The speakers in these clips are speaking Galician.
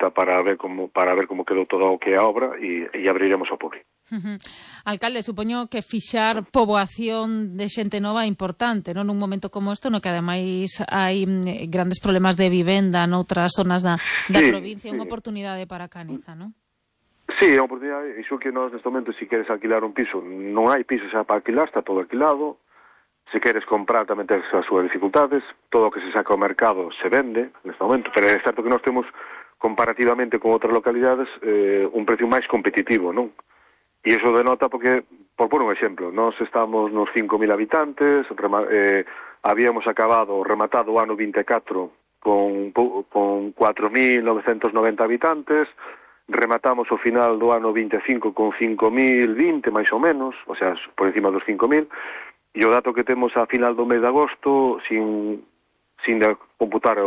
visita para ver como quedou todo o que é a obra e abriremos ao público. Alcalde, supoño que fixar poboación de xente nova é importante, non? Nun momento como este, no que ademais hai grandes problemas de vivenda noutras zonas da provincia, unha oportunidade para Caniza, non? Sí, é unha oportunidade, iso que nós neste momento, se queres alquilar un piso, non hai piso xa para alquilar, está todo alquilado. Se queres comprar tamén tens as súas dificultades, todo o que se saca ao mercado se vende neste momento, pero é certo que nós temos comparativamente con outras localidades un precio máis competitivo, non? E iso denota porque, por pôr un exemplo, nós estamos nos 5.000 habitantes, habíamos rematado o ano 24 con 4.990 habitantes, rematamos o final do ano 25 con 5.020 máis ou menos, o sea, por encima dos 5.000. E o dato que temos a final do mes de agosto, sin computar,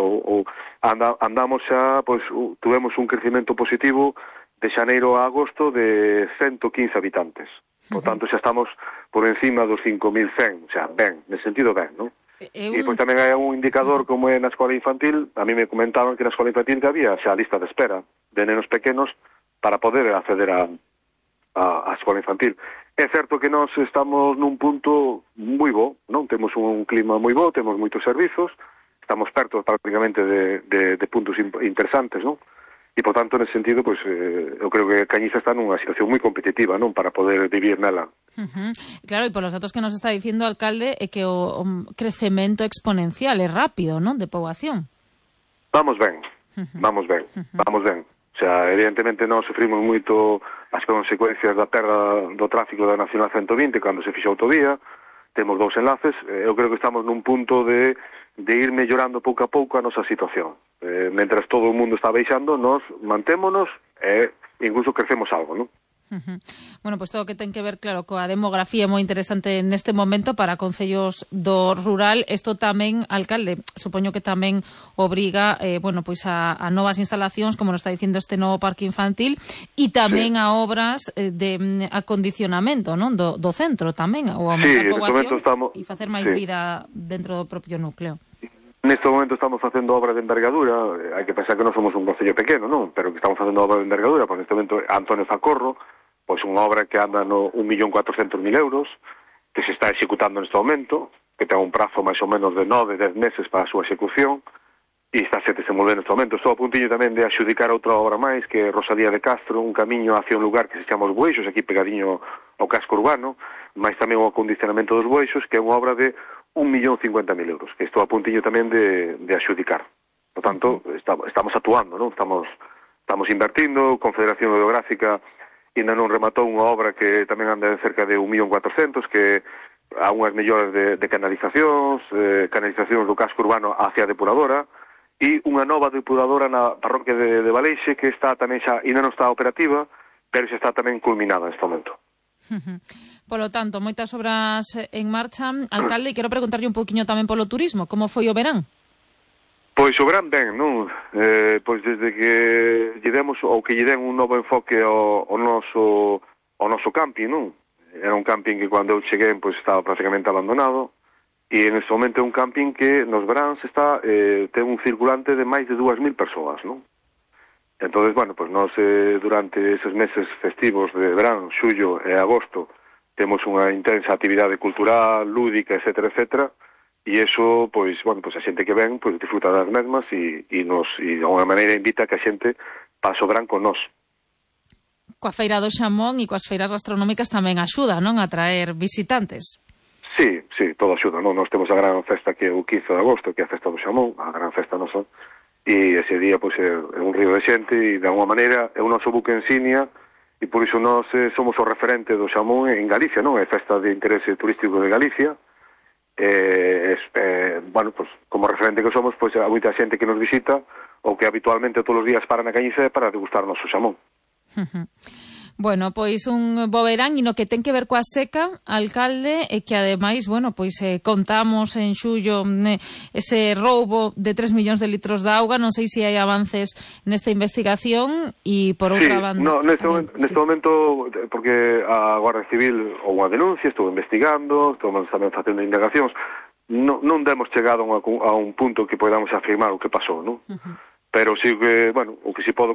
andamos xa, pois, tuvemos un crecimento positivo de xaneiro a agosto de 115 habitantes. Por tanto, xa estamos por encima dos 5.100, o sea, ben, nesse sentido ben, non? E pois tamén hai un indicador como é na escola infantil. A mí me comentaban que na escola infantil que había xa a lista de espera de nenos pequenos para poder acceder a escola infantil. É certo que nós estamos nun punto moi bo, non? Temos un clima moi bo, temos moitos servizos, estamos perto prácticamente de puntos interesantes, non? E, por tanto, nesse sentido, pois, eu creo que Cañiza está nunha situación moi competitiva, non? Para poder vivir nela. Claro, e polos datos que nos está dicindo, alcalde, é que o crecemento exponencial é rápido, non? De poboación. Vamos ben. O sea, evidentemente nós sufrimos moito as consecuencias da perda do tráfico da Nacional 120 cando se fixo a autovía. Temos 2 enlaces. Eu creo que estamos nun punto de ir mellorando pouco a pouco a nosa situación. Mentras todo o mundo está baixando, nós mantémonos e incluso crecemos algo, non? Bueno, pois todo o que ten que ver, claro, coa demografía é moi interesante neste momento para concellos do rural. Isto tamén, alcalde, supoño que tamén obriga, bueno, pois a novas instalacións, como nos está dicindo este novo parque infantil, e tamén a obras de acondicionamento, non? Do centro tamén, ou aumentar poboación e facer máis vida dentro do propio núcleo. Neste momento estamos facendo obras de envergadura. Hai que pensar que non somos un concello pequeno, non? Pero que estamos facendo obras de envergadura. Pois neste momento Antonio Zacorro, pois unha obra que anda no 1.400.000 euros, que se está executando neste momento, que ten un prazo máis ou menos de 9-10 meses para a súa execución, e está se desenvolvendo neste momento. Estou a puntillo tamén de axudicar outra obra máis, que é Rosalía de Castro, un camiño hacia un lugar que se chama Os Boixos, aquí pegadiño ao casco urbano, máis tamén o acondicionamento dos Boixos, que é unha obra de 1.050.000 euros, que estou a puntillo tamén de axudicar. Por tanto, estamos actuando, non? Estamos invertindo. Confederación Hidrográfica ainda non rematou unha obra que tamén anda en cerca de 1.400.000, que há unhas melloras de canalizacións do casco urbano hacia a depuradora, e unha nova depuradora na parroquia de Valeixe, que está tamén xa, ainda non está operativa, pero xa está tamén culminada neste momento. Polo tanto, moitas obras en marcha. Alcalde, quero preguntarlle un poquinho tamén polo turismo. Como foi o verán? Pois o verán ben, non? Pois desde que lle demos, ou que lle den un novo enfoque ao noso camping, non? Era un camping que cando eu cheguei pois estaba prácticamente abandonado, e en este momento é un camping que nos veráns ten un circulante de máis de 2.000 persoas, non? Entón, bueno, pues nós durante eses meses festivos de verán, xullo e agosto, temos unha intensa actividade cultural, lúdica, etcétera, etcétera, e iso, pois, bueno, pois a xente que ven, pois disfruta das mesmas e de alguma maneira invita a que a xente pase o verán con nós. Coa feira do xamón e coas feiras gastronómicas tamén axuda, non, a traer visitantes? Sí, todo axuda, non? Nós temos a gran festa que é o 15 de agosto, que é a festa do xamón, a gran festa nosa. E ese día, pois, é un río de xente e, de alguma maneira, é o noso buque insignia e, por iso, nós somos o referente do xamón en Galicia, non? É festa de interese turístico de Galicia. Bueno, pois, como referente que somos, pois, há moita xente que nos visita ou que habitualmente todos os días para na Cañiza para degustar o noso xamón. Bueno, pois un bo verán e no que ten que ver coa seca, alcalde, e que ademais, bueno, pois contamos en xullo ese roubo de 3 millóns de litros de auga. Non sei se hai avances nesta investigación e por outra banda... No, neste momento, porque a Guardia Civil ou unha denuncia, estou investigando, estamos tamén facendo indagacións, non demos chegado a un punto que podamos afirmar o que pasou, non? Pero sí que, bueno, o que si podo contar